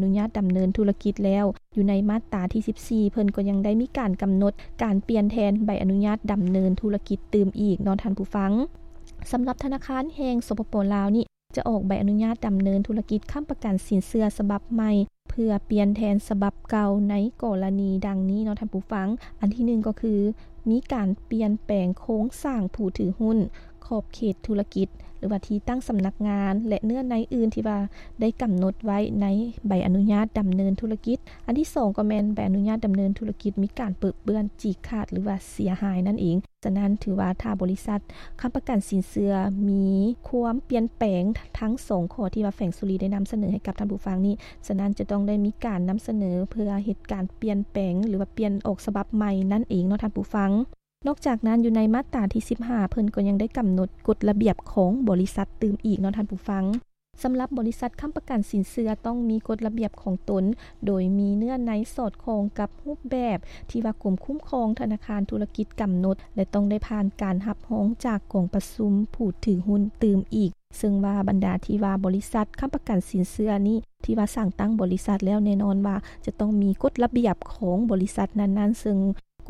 ອະນຸຍາດດຳເນີນທຸລະກິດແລ້ວ. ຢູ່ໃນມາດຕາທີສິບສີ່ ເພິ່ນກໍຍັງໄດ້ມີການກຳນົດການປ່ຽນແທນໃບອະນຸຍາດດຳເນີນທຸລະກິດຕື່ມອີກເນາະທ່ານຜູ້ຟັງ. ສຳລັບທະນາຄານແຫ່ງ ສປປ ລາວນີ້ ຈະອອກໃບອະນຸຍາດດຳເນີນທຸລະກິດຄ້ຳປະກັນສິນເຊື່ອສະບັບໃໝ່ ເພື່ອປ່ຽນແທນສະບັບເກົ່າໃນກໍລະນີດັ່ງນີ້ເນາະທ່ານຜູ້ຟັງ. ອັນທີໜຶ່ງກໍຄື ມີການປ່ຽນແປງໂຄງສ້າງຜູ້ຖືຫຸ້ນ, ຂອບເຂດທຸລະກິດ ຫຼືວ່າທີ່ຕັ້ງສຳນັກງານ ແລະ ເນື້ອໃນອື່ນທີ່ວ່າໄດ້ກຳນົດໄວ້ໃນໃບອະນຸຍາດດຳເນີນທຸລະກິດ. ອັນທີສອງກໍແມ່ນໃບອະນຸຍາດດຳເນີນທຸລະກິດມີການເປິເປື້ອນ, ຈີກຂາດ ຫຼືວ່າເສຍຫາຍນັ້ນເອງ. ສະນັ້ນ ຖືວ່າຖ້າບໍລິສັດຄ້ຳປະກັນສິນເຊື່ອມີຄວາມປ່ຽນແປງທັງສອງຂໍ້ທີ່ວ່າແຟງສຸລີໄດ້ນຳສະເໜີໃຫ້ກັບທ່ານຜູ້ຟັງນີ້, ສະນັ້ນຈະຕ້ອງໄດ້ມີການນຳສະເໜີເພື່ອເຮັດການປ່ຽນແປງ ຫຼືວ່າປ່ຽນອອກສະບັບໃໝ່ນັ້ນເອງເນາະທ່ານຜູ້ຟັງ. ນອກຈາກນັ້ນ ຢູ່ໃນມາດຕາທີສິບຫ້າ ເພິ່ນກໍຍັງໄດ້ກຳນົດກົດລະບຽບຂອງບໍລິສັດຕື່ມອີກເນາະທ່ານຜູ້ຟັງ. ສຳລັບບໍລິສັດຄ້ຳປະກັນສິນເຊື່ອຕ້ອງມີກົດລະບຽບຂອງຕົນ ໂດຍມີເນື້ອໃນສອດຄ່ອງກັບຮູບແບບທີ່ວ່າກົມຄຸ້ມຄອງທະນາຄານທຸລະກິດກຳນົດ ແລະ ຕ້ອງໄດ້ຜ່ານການຮັບຮອງຈາກກອງປະຊຸມຜູ້ຖືຫຸ້ນຕື່ມອີກ. ເຊິ່ງວ່າບັນດາທີ່ວ່າບໍລິສັດຄ້ຳປະກັນສິນເຊື່ອນີ້ ທີ່ວ່າສ້າງຕັ້ງບໍລິສັດແລ້ວ ແນ່ນອນວ່າຈະຕ້ອງມີກົດລະບຽບຂອງບໍລິສັດນັ້ນໆ, ເຊິ່ງ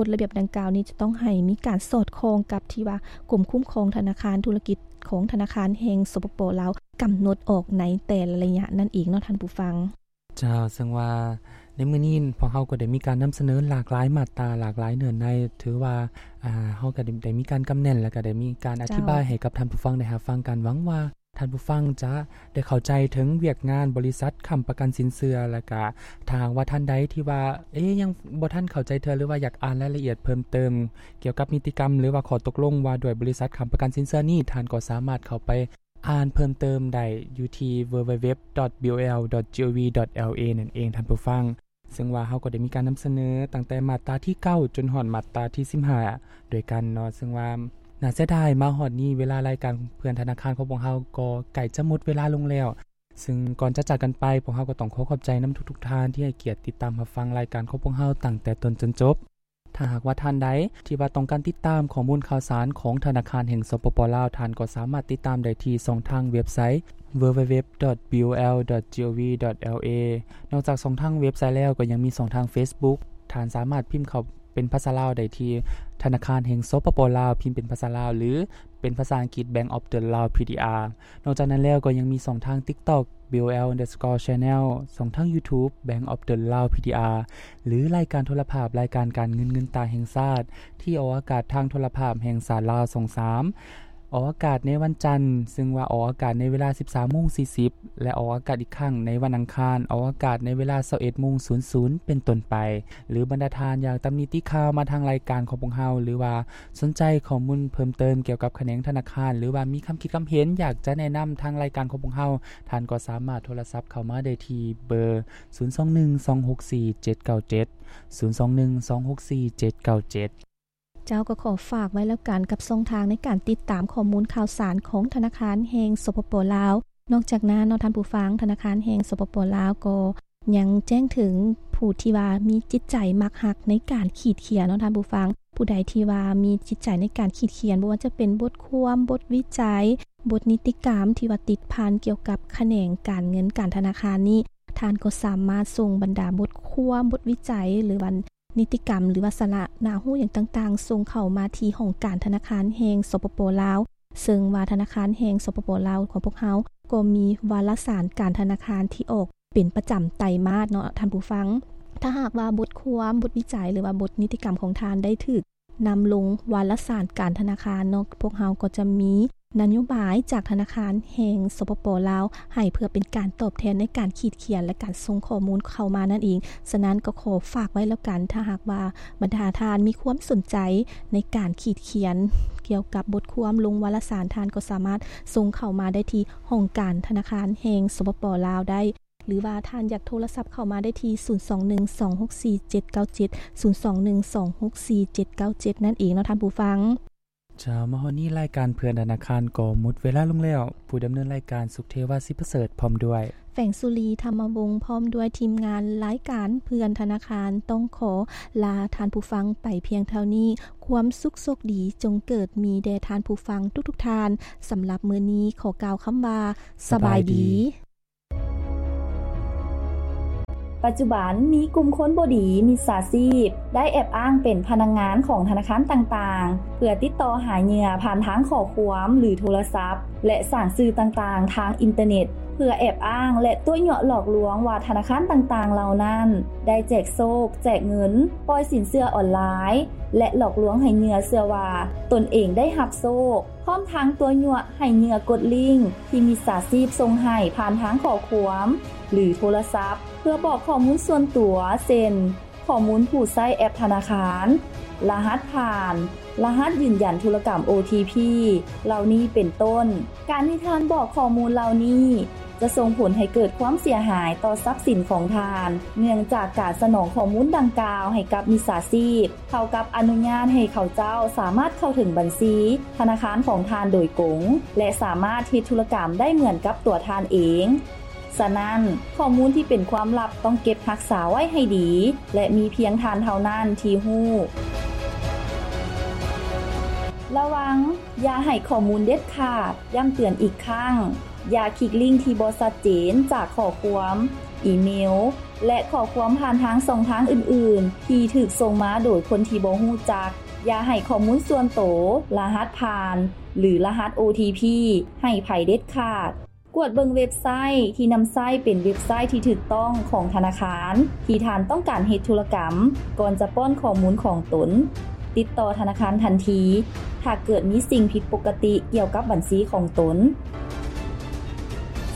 ກົດລະບຽບດັ່ງກ່າວນີ້ຈະຕ້ອງໃຫ້ມີການສອດຄ່ອງກັບທີ່ວ່າກົມຄຸ້ມຄອງທະນາຄານທຸລະກິດຂອງທະນາຄານແຫ່ງ ສປປ ລາວ ກຳນົດອອກໃນແຕ່ລະໄລຍະນັ້ນເອງເນາະທ່ານຜູ້ຟັງ. ເຈົ້າ, ເຊິ່ງວ່າໃນມື້ນີ້ພວກເຮົາກໍໄດ້ມີການນຳສະເໜີຫຼາກຫຼາຍມາດຕາ, ຫຼາກຫຼາຍເນື້ອໃນ, ຖືວ່າ ອ່າ ເຮົາກໍໄດ້ ໄດ້ມີການກຳແໜ້ນ ແລ້ວກໍໄດ້ມີການອະທິບາຍ ເຈົ້າ ໃຫ້ກັບທ່ານຜູ້ຟັງໄດ້ຮັບຟັງກັນ. ຫວັງວ່າ ທ່ານຜູ້ຟັງຈະໄດ້ເຂົ້າໃຈເຖິງວຽກງານບໍລິສັດຄ້ຳປະກັນສິນເຊື່ອ, ແລ້ວກະຖ້າຫາກວ່າທ່ານໃດທີ່ວ່າ ເອ ຍັງບໍ່ທັນເຂົ້າໃຈເທື່ອ ຫຼືວ່າຢາກອ່ານລາຍລະອຽດເພີ່ມເຕີມກ່ຽວກັບນິຕິກຳ ຫຼືວ່າຂໍ້ຕົກລົງວ່າດ້ວຍບໍລິສັດຄ້ຳປະກັນສິນເຊື່ອນີ້, ທ່ານກໍສາມາດເຂົ້າໄປອ່ານເພີ່ມເຕີມໄດ້ຢູ່ທີ່ www.bol.gov.la ນັ້ນເອງທ່ານຜູ້ຟັງ. ເຊິ່ງວ່າເຮົາກໍໄດ້ມີການນຳສະເໜີຕັ້ງແຕ່ມາດຕາທີເກົ້າຈົນຮອດມາດຕາທີສິບຫ້າດ້ວຍກັນເນາະ, ເຊິ່ງວ່າໜ້າເສຍດາຍ ມາຮອດນີ້ເວລາລາຍການເພື່ອນທະນາຄານຂອງພວກເຮົາກໍໃກ້ຈະໝົດເວລາລົງແລ້ວ. ເຊິ່ງກ່ອນຈະຈາກກັນໄປ, ພວກເຮົາກໍຕ້ອງຂໍຂອບໃຈນຳທຸກໆທ່ານທີ່ໃຫ້ກຽດຕິດຕາມຮັບຟັງລາຍການຂອງພວກເຮົາຕັ້ງແຕ່ຕົ້ນຈົນຈົບ. ຖ້າຫາກວ່າທ່ານໃດທີ່ວ່າຕ້ອງການຕິດຕາມຂໍ້ມູນຂ່າວສານຂອງທະນາຄານແຫ່ງ ສປປ ລາວ, ທ່ານກໍສາມາດຕິດຕາມໄດ້ທີ່ຊ່ອງທາງເວັບໄຊ www.bol.gov.la. ນອກຈາກຊ່ອງທາງເວັບໄຊແລ້ວ, ກໍຍັງມີຊ່ອງທາງ Facebook. ທ່ານສາມາດພິມເຂົ້າເປັນພາສາລາວໄດ້ທີ່ທະນາຄານແຫ່ງ ສປປ ລາວ, ພິມເປັນພາສາລາວ ຫຼື ເປັນພາສາອັງກິດ Bank of the Lao PDR. ນອກຈາກນັ້ນແລ້ວກໍຍັງມີຊ່ອງທາງ TikTok bol underscore channel, ຊ່ອງທາງ YouTube Bank of the Lao PDR ຫຼື ລາຍການໂທລະພາບ ລາຍການການເງິນ ເງິນຕາແຫ່ງຊາດ ທີ່ອອກອາກາດທາງໂທລະພາບແຫ່ງຊາດລາວ ຊ່ອງສາມ ອອກອາກາດໃນວັນຈັນ, ເຊິ່ງວ່າອອກອາກາດໃນເວລາ ສິບສາມໂມງສີ່ສິບ ແລະ ອອກອາກາດອີກຄັ້ງໃນວັນອັງຄານ, ອອກອາກາດໃນເວລາ ຊາວເອັດໂມງສູນສູນ ເປັນຕົ້ນໄປ. ຫຼື ບັນດາທ່ານຢາກຕຳໜິຕິຂ່າວມາທາງລາຍການຂອງພວກເຮົາ ຫຼືວ່າ ສົນໃຈຂໍ້ມູນເພີ່ມເຕີມກ່ຽວກັບຂະແໜງທະນາຄານ ຫຼືວ່າມີຄຳຄິດຄຳເຫັນຢາກຈະແນະນຳທາງລາຍການຂອງພວກເຮົາ, ທ່ານກໍສາມາດໂທລະສັບເຂົ້າມາໄດ້ທີ່ເບີ ສູນສອງໜຶ່ງ ສອງຫົກສີ່ ເຈັດເກົ້າເຈັດ ສູນສອງໜຶ່ງ ສອງຫົກສີ່ ເຈັດເກົ້າເຈັດ. ເຈົ້າ, ກໍຂໍຝາກໄວ້ແລ້ວກັນກັບຊ່ອງທາງໃນການຕິດຕາມຂໍ້ມູນຂ່າວສານຂອງທະນາຄານແຫ່ງ ສປປ ລາວ. ນອກຈາກນັ້ນເນາະທ່ານຜູ້ຟັງ, ທະນາຄານແຫ່ງ ສປປ ລາວ ກໍຍັງແຈ້ງເຖິງຜູ້ທີ່ວ່າມີຈິດໃຈມັກຮັກໃນການຂີດຂຽນເນາະທ່ານຜູ້ຟັງ. ຜູ້ໃດທີ່ວ່າມີຈິດໃຈໃນການຂີດຂຽນ, ບໍ່ວ່າຈະເປັນບົດຄວາມ, ບົດວິໄຈ, ບົດນິຕິກຳທີ່ວ່າຕິດພັນກ່ຽວກັບຂະແໜງການເງິນການທະນາຄານນີ້, ທ່ານກໍສາມາດສົ່ງບັນດາບົດຄວາມ, ບົດວິໄຈ ຫຼືວ່າ ນິຕິກຳ ຫຼືວ່າສາລະໜ້າຮູ້ຫຍັງຕ່າງໆ ສົ່ງເຂົ້າມາທີ່ຫ້ອງການທະນາຄານແຫ່ງ ສປປ ລາວ, ເຊິ່ງວ່າທະນາຄານແຫ່ງ ສປປ ລາວ ຂອງພວກເຮົາກໍມີວາລະສານການທະນາຄານທີ່ອອກເປັນປະຈຳໄຕມາດເນາະທ່ານຜູ້ຟັງ. ຖ້າຫາກວ່າບົດຄວາມ, ບົດວິໄຈ ຫຼືວ່າບົດນິຕິກຳຂອງທ່ານໄດ້ຖືກນຳລົງວາລະສານການທະນາຄານເນາະ, ພວກເຮົາກໍຈະມີນະໂຍບາຍຈາກທະນາຄານແຫ່ງ ສປປ ລາວ ໃຫ້ເພື່ອເປັນການຕອບແທນໃນການຂີດຂຽນ ແລະ ການສົ່ງຂໍ້ມູນເຂົ້າມານັ້ນເອງ. ສະນັ້ນກໍຂໍຝາກໄວ້ແລ້ວກັນ, ຖ້າຫາກວ່າບັນດາທ່ານມີຄວາມສົນໃຈໃນການຂີດຂຽນກ່ຽວກັບບົດຄວາມລົງວາລະສານ, ທ່ານກໍສາມາດສົ່ງເຂົ້າມາໄດ້ທີ່ຫ້ອງການທະນາຄານແຫ່ງ ສປປ ລາວ ໄດ້, ຫຼືວ່າທ່ານຢາກໂທລະສັບເຂົ້າມາໄດ້ທີ່ ສູນສອງໜຶ່ງ ສອງຫົກສີ່ ເຈັດເກົ້າເຈັດ ສູນສອງໜຶ່ງ ສອງຫົກສີ່ ເຈັດເກົ້າເຈັດ ນັ້ນເອງເນາະທ່ານຜູ້ຟັງ. ເຈົ້າ, ມາຮອດນີ້ລາຍການເພື່ອນທະນາຄານກໍໝົດເວລາລົງແລ້ວ. ຜູ້ດຳເນີນລາຍການ ສຸກເທວາ ສິປະເສີດ ພ້ອມດ້ວຍ ແຟງສຸລີ ທຳມະວົງ ພ້ອມດ້ວຍທີມງານລາຍການເພື່ອນທະນາຄານ ຕ້ອງຂໍລາທ່ານຜູ້ຟັງໄປພຽງເທົ່ານີ້. ຄວາມສຸກໂຊກດີຈົ່ງເກີດມີແດ່ທ່ານຜູ້ຟັງທຸກໆທ່ານ. ສຳລັບມື້ນີ້ຂໍກ່າວຄຳວ່າ ສະບາຍດີ. ປັດຈຸບັນມີກຸ່ມຄົນບໍ່ດີ ມິດສາຊີບ ໄດ້ແອບອ້າງເປັນພະນັກງານຂອງທະນາຄານຕ່າງໆ ເພື່ອຕິດຕໍ່ຫາເຫຍື່ອຜ່ານທາງຂໍ້ຄວາມ ຫຼື ໂທລະສັບ ແລະ ສ້າງສື່ຕ່າງໆທາງອິນເຕີເນັດ ເພື່ອແອບອ້າງ ແລະ ຕົວະຍົວະຫຼອກລວງວ່າທະນາຄານຕ່າງໆເຫຼົ່ານັ້ນໄດ້ແຈກໂຊກ, ແຈກເງິນ, ປ່ອຍສິນເຊື່ອອອນລາຍ ແລະ ຫຼອກລວງໃຫ້ເຫຍື່ອເຊື່ອວ່າຕົນເອງໄດ້ຮັບໂຊກ. ພ້ອມທັງຕົວະຍົວະໃຫ້ເຫຍື່ອກົດລິ້ງທີ່ມິດສາຊີບສົ່ງໃຫ້ຜ່ານທາງຂໍ້ຄວາມ ຫຼື ໂທລະສັບ ເພື່ອບອກຂໍ້ມູນສ່ວນຕົວ ເຊັ່ນ ຂໍ້ມູນຜູ້ໃຊ້ແອັບທະນາຄານ, ລະຫັດຜ່ານ, ລະຫັດຢືນຢັນທຸລະກຳ ໂອທີພີ ເຫຼົ່ານີ້ເປັນຕົ້ນ. ການທີ່ທ່ານບອກຂໍ້ມູນເຫຼົ່ານີ້ ຈະສົ່ງຜົນໃຫ້ເກີດຄວາມເສຍຫາຍຕໍ່ຊັບສິນຂອງທ່ານ, ເນື່ອງຈາກການສະໜອງຂໍ້ມູນດັ່ງກ່າວໃຫ້ກັບມິດສາຊີບ ເທົ່າກັບອະນຸຍາດໃຫ້ເຂົາເຈົ້າສາມາດເຂົ້າເຖິງບັນຊີທະນາຄານຂອງທ່ານໂດຍກົງ ແລະ ສາມາດເຮັດທຸລະກຳໄດ້ເໝືອນກັບຕົວທ່ານເອງ. ສະນັ້ນ, ຂໍ້ມູນທີ່ເປັນຄວາມລັບຕ້ອງເກັບຮັກສາໄວ້ໃຫ້ດີ ແລະ ມີພຽງທ່ານເທົ່ານັ້ນທີ່ຮູ້. ລະວັງ, ຢ່າໃຫ້ຂໍ້ມູນເດັດຂາດ. ຢ້ຳເຕືອນອີກຄັ້ງ, ຢ່າຄລິກລິ້ງທີ່ບໍ່ຊັດເຈນຈາກຂໍ້ຄວາມ, ອີເມວ ແລະ ຂໍ້ຄວາມຜ່ານທາງຊ່ອງທາງອື່ນໆ ທີ່ຖືກສົ່ງມາໂດຍຄົນທີ່ບໍ່ຮູ້ຈັກ. ຢ່າໃຫ້ຂໍ້ມູນສ່ວນໂຕ, ລະຫັດຜ່ານ ຫຼື ລະຫັດ ໂອທີພີ ໃຫ້ໃຜເດັດຂາດ. ກວດເບິ່ງເວັບໄຊທີ່ນຳໃຊ້ເປັນເວັບໄຊທີ່ຖືກຕ້ອງຂອງທະນາຄານທີ່ທ່ານຕ້ອງການເຮັດທຸລະກຳ ກ່ອນຈະປ້ອນຂໍ້ມູນຂອງຕົນ. ຕິດຕໍ່ທະນາຄານທັນທີ ຖ້າເກີດມີສິ່ງຜິດປົກກະຕິກ່ຽວກັບບັນຊີຂອງຕົນ.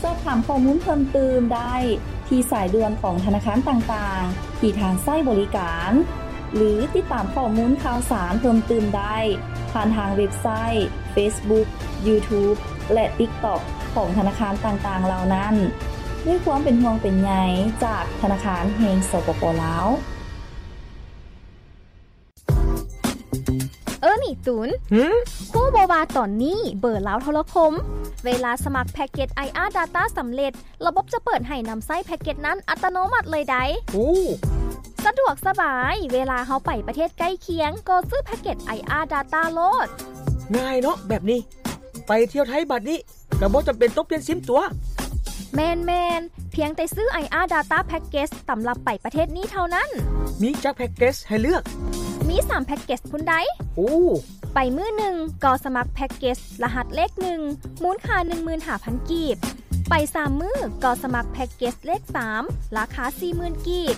ສອບຖາມຂໍ້ມູນເພີ່ມຕື່ມໄດ້ທີ່ສາຍດ່ວນຂອງທະນາຄານຕ່າງໆທີ່ທ່ານໃຊ້ບໍລິການ ຫຼື ຕິດຕາມຂໍ້ມູນຂ່າວສານເພີ່ມຕື່ມໄດ້ຜ່ານທາງເວັບໄຊ, ເຟສບຸກ, ຢູທູບ ແລະ ຕິກຕັອກ ຂອງທະນາຄານຕ່າງໆເຫຼົ່ານັ້ນ. ດ້ວຍຄວາມເປັນຫ່ວງເປັນໃຍຈາກທະນາຄານແຫ່ງ ສປປ ລາວ. ເອີ ນີ້ຕູນ ຫື? ຮູ້ບໍ່ວ່າຕອນນີ້ເບີລາວໂທລະຄົມ ເວລາສະໝັກແພັກເກັດ ໄອອາ ດາຕ້າ ສຳເລັດ ລະບົບຈະເປີດໃຫ້ນຳໃຊ້ແພັກເກັດນັ້ນອັດຕະໂນມັດເລີຍໃດ໋. ໂອ້ ສະດວກສະບາຍ, ເວລາເຮົາໄປປະເທດໃກ້ຄຽງ ກໍຊື້ແພັກເກັດ ໄອອາ ດາຕ້າ ໂລດ. ງ່າຍເນາະແບບນີ້. ໄປທ່ຽວໄທບາດນີ້ ກໍບໍ່ຈຳເປັນຕ້ອງປ່ຽນຊິມຕົວະ. ແມ່ນໆ, ພຽງແຕ່ຊື້ ໄອອາ ດາຕ້າ ແພັກເກັດ ສຳລັບໄປປະເທດນີ້ເທົ່ານັ້ນ. ມີຈັກແພັກເກັດໃຫ້ເລືອກ? ມີສາມແພັກເກັດພຸ້ນໃດ໋. ໂອ້ ໄປມື້ໜຶ່ງກໍສະໝັກແພັກເກັດລະຫັດເລກໜຶ່ງ ມູນຄ່າໜຶ່ງໝື່ນຫ້າພັນກີບ. ໄປສາມມື້ກໍສະໝັກແພັກເກັດເລກສາມ ລາຄາສີ່ໝື່ນກີບ.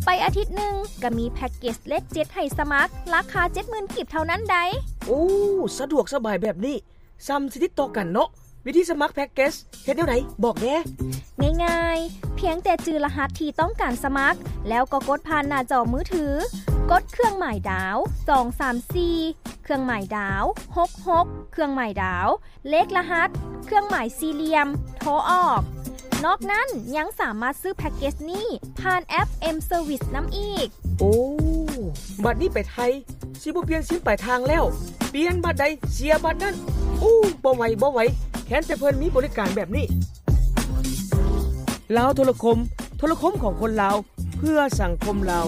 ໄປອາທິດໜຶ່ງກໍມີແພັກເກັດເລກເຈັດໃຫ້ສະໝັກ ລາຄາເຈັດໝື່ນກີບເທົ່ານັ້ນໃດ໋. ໂອ້ ສະດວກສະບາຍແບບນີ້ ສ່ຳຊິຕິດຕໍ່ກັນເນາະ. ວິທີສະໝັກແພັກເກັດເຮັດແນວໃດ? ບອກແດ່. ງ່າຍໆ, ພຽງແຕ່ຈື່ລະຫັດທີ່ຕ້ອງການສະໝັກ ແລ້ວກໍກົດຜ່ານໜ້າຈໍມືຖື, ກົດເຄື່ອງໝາຍດາວ ສອງສາມສີ່ ເຄື່ອງໝາຍດາວ ຫົກຫົກ ເຄື່ອງໝາຍດາວ ເລກລະຫັດ ເຄື່ອງໝາຍສີ່ຫຼ່ຽມ ໂທອອກ. ນອກນັ້ນຍັງສາມາດຊື້ແພັກເກັດນີ້ຜ່ານແອັບ M-Service ນຳອີກ. ໂອ້ ບາດນີ້ໄປໄທ ຊິບໍ່ປ່ຽນຊິມປາຍທາງແລ້ວ, ປ່ຽນບາດໃດເສຍບາດນັ້ນ. ໂອ້ ບໍ່ໄຫວ ບໍ່ໄຫວ, ແຄ້ນແຕ່ເພິ່ນມີບໍລິການແບບນີ້. ລາວໂທລະຄົມ, ໂທລະຄົມຂອງຄົນລາວ ເພື່ອສັງຄົມລາວ.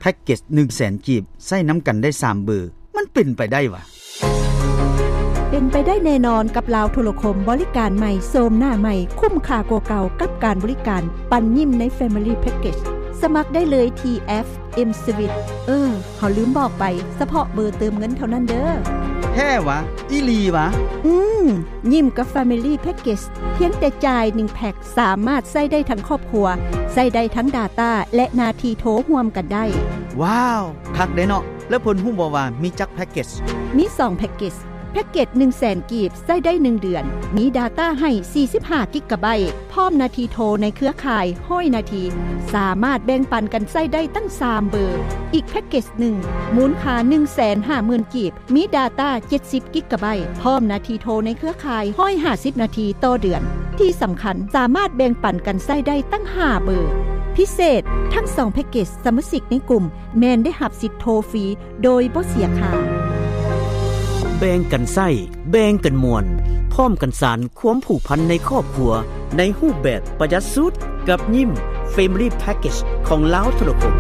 ແພັກເກັດໜຶ່ງແສນກີບ ໃຊ້ນຳກັນໄດ້ສາມເບີ, ມັນເປັນໄປໄດ້ຫວາ? ເປັນໄປໄດ້ແນ່ນອນກັບລາວໂທລະຄົມ, ບໍລິການໃໝ່, ໂສມໜ້າໃໝ່, ຄຸ້ມຄ່າກວ່າເກົ່າກັບການບໍລິການປັນຍິ້ມໃນ Family Package. ສະໝັກໄດ້ເລີຍທີ່ແອັບ M-Service. ເອີ ເຮົາລືມບອກໄປ, ສະເພາະເບີເຕີມເງິນເທົ່ານັ້ນເດີ. ແທ້ຫວາ? ອີ່ຫຼີຫວາ? ອືມ, ຍິ້ມກັບ Family Package ພຽງແຕ່ຈ່າຍໜຶ່ງແພັກ ສາມາດໃຊ້ໄດ້ທັງຄອບຄົວ, ໃຊ້ໄດ້ທັງດາຕ້າ ແລະ ໜ້າທີ່ໂທຮ່ວມກັນໄດ້. ວ້າວ, ຄັກເດ້ເນາະ. ແລ້ວເພິ່ນຮູ້ບໍ່ວ່າມີຈັກແພັກເກັດ? ມີສອງແພັກເກັດ. ແພັກເກັດໜຶ່ງແສນກີບ ໃຊ້ໄດ້ໜຶ່ງເດືອນ, ມີດາຕ້າໃຫ້ສີ່ສິບຫ້າກິກກາໄບ, ພ້ອມໜ້າທີ່ໂທໃນເຄືອຂ່າຍຮ້ອຍນາທີ, ສາມາດແບ່ງປັນກັນໃຊ້ໄດ້ຕັ້ງສາມເບີ. ອີກແພັກເກັດໜຶ່ງ ມູນຄ່າໜຶ່ງແສນຫ້າໝື່ນກີບ, ມີດາຕ້າເຈັດສິບກິກກາໄບ, ພ້ອມໜ້າທີ່ໂທໃນເຄືອຂ່າຍຮ້ອຍຫ້າສິບນາທີຕໍ່ເດືອນ. ທີ່ສຳຄັນ, ສາມາດແບ່ງປັນກັນໃຊ້ໄດ້ຕັ້ງຫ້າເບີ. ພິເສດ, ທັງສອງແພັກເກັດສະມາຊິກໃນກຸ່ມແມ່ນໄດ້ຮັບສິດໂທຟຣີໂດຍບໍ່ເສຍຄ່າ. ແບ່ງກັນໃຊ້, ແບ່ງກັນມ່ວນ, ພ້ອມກັນສານຄວາມຜູກພັນໃນຄອບຄົວ ໃນຮູບແບບປະຢັດສຸດ ກັບຍິ້ມ Family Package ຂອງລາວໂທລະຄົມ.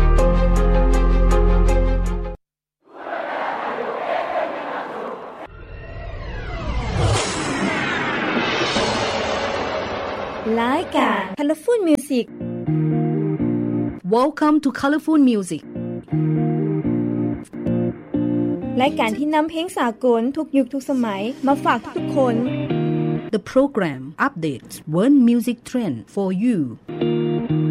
ໄລ ການ Colorful Music. Welcome to Colorful Music. ລາຍການທີ່ນຳເພງສາກົນທຸກຍຸກທຸກສະໄໝມາຝາກທຸກໆຄົນ. The program updates world music trend for you.